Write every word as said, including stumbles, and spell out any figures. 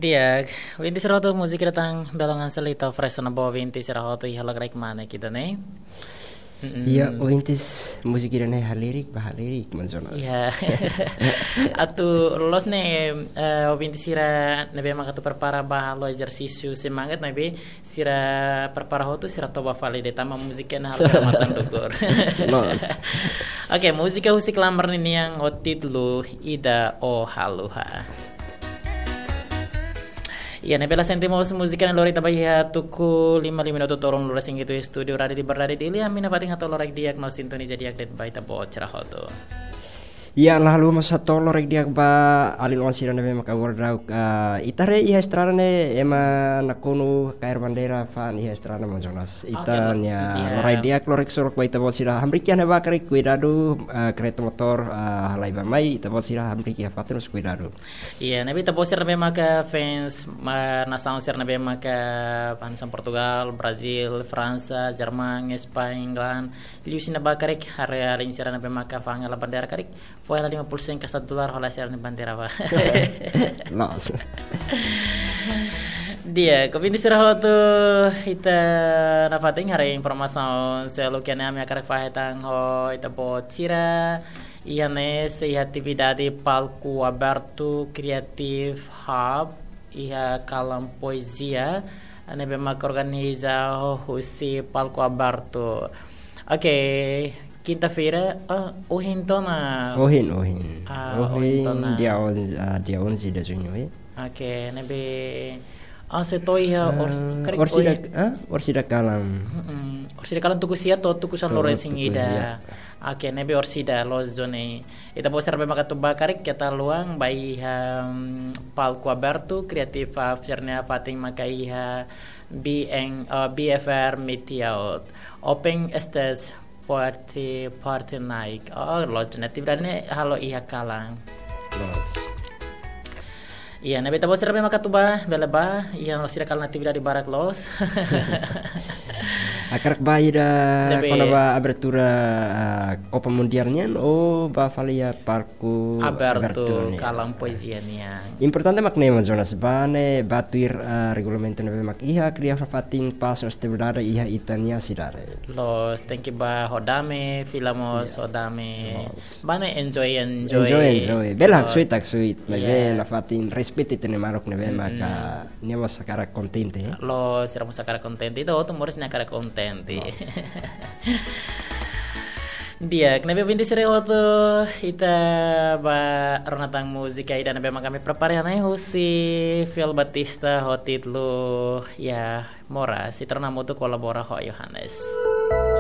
Di'ak, ovinti sira hotu, múzika ida tan belun hanesan ita oferese ona ba ovinti sira hotu iha loron karik mane kita ne. Mm-mm. Iya, ovinti, múzika ida ne'e halirik, ba halirik, Manas Jonas. Iya. Atu loos ne'e, eh, ovinti sira ne'ebé maka atu prepara ba halo ezersísiu semangat ne'ebé sira prepara hotu, sira toba fali de'it tanba múzika ne'e halo sira matan dukur. Loos. Oke, múzika husi Klamar ninian ho títulu Ida Ó Haluha. Iya, ne'e bele sente mós múzika ne'e lori ita ba iha tuku lima, lima minutu to'o ruanulu resin hitu estúdiu Rádiu Liberdade Dili, ami nafatin hato'o loraik di'ak no sintoniza di'ak de'it ba ita-boot sira hotu. Iya, la haluha mós hato'o loraik di'ak ba alin-oan sira ne'ebé maka agora daudaun, ah, ita haree iha estrada ne'e ema nakonu kaer bandeira fa'an iha estrada, Manas Jonas. Oke, ita-nia iya. Loraik di'ak, loraik sorok ba ita-boot sira. Hamriik iha ne'ebá karik kuidadu, ah, kereta motór, ah, halai bá-mai, ita-boot sira hamriik iha fatin mós kuidadu. Iya, ne'ebé ita-boot sira ne'ebé maka fans, ma-, nasaun sira ne'ebé maka fans Portugal, Brazil, Fransa, Jerman, España, England, liuhusi ne'ebá karik, haree alin sira ne'ebé maka fa'an hela bandeira karik, fó hela lima puluh sen kasta dolar hola sira-nia bandeira bá. Loos. Di'ak, ovinti sira hotu, ita nafatin haree informasaun seluk iha ne'e, ami hakarak fahe tan ho ita-boot sira. Iha ne'e sei iha atividade palku abertu Creative Hub iha kalan poezia ne'ebé maka organiza ho husi palku abertu. Oke, kinta-feira, ah, ohin ona. Ohin, ohin. Ah, ohin ona. Ohin dia onze, ah, dia onze de junho, eh? Oke, ne'ebé, ah, sei to'o iha, ah, ors-, karik orsida, ohin. Ah, orsida kalan. Mm-mm. Orsida kalan tuku sia to'o tuku sanulu resin ida. To'o tuku sia. Oke, ne'ebé orsida loos duni. Ita-boot sira ne'ebé maka atu bá karik keta haluha bá iha, mm, palku abertu Creative Hub sira-nia fatin maka iha B N, eh, B F R Media Out. Open stage party, party night. Oh, loos duni, atividade ne'e halo iha kalan. Loos. Iya, ne'ebé ita-boot sira ne'ebé maka atu bá, bele bá, iha orsida kalan atividade barak loos. Hakarak bá ida ne'ebé kona-ba abertura, ah, Copa Mundial nian, ou bá fali iha palku abertu, abertu nian. Kalan poezia nian. Importante mak ne'e, Manas Jonas, bá ne'e bá tuir, ah, regulamentu ne'ebé mak iha, kria fatin pás no estabilidade iha ita-nia sidade. Loos, tenke bá ho dame, fila mós ho dame. Loos. Bá ne'e enjoy, enjoy. Enjoy, enjoy. Bele haksoit, haksoit. Maibé nafatin respeita ita-nia maluk ne'ebé maka nia mós hakarak kontente, eh? Loos, sira mós hakarak kontente. Ita hotu moris ne'e hakarak kontente. Loos. Di'ak, ne'ebé ovinti sira hotu, ita bá rona tan múzika ida ne'ebé maka ami prepara iha ne'e husi Fiel Batista ho títulu, ya, Moras. Ita rona hamutuk, kolabora ho Yohanes.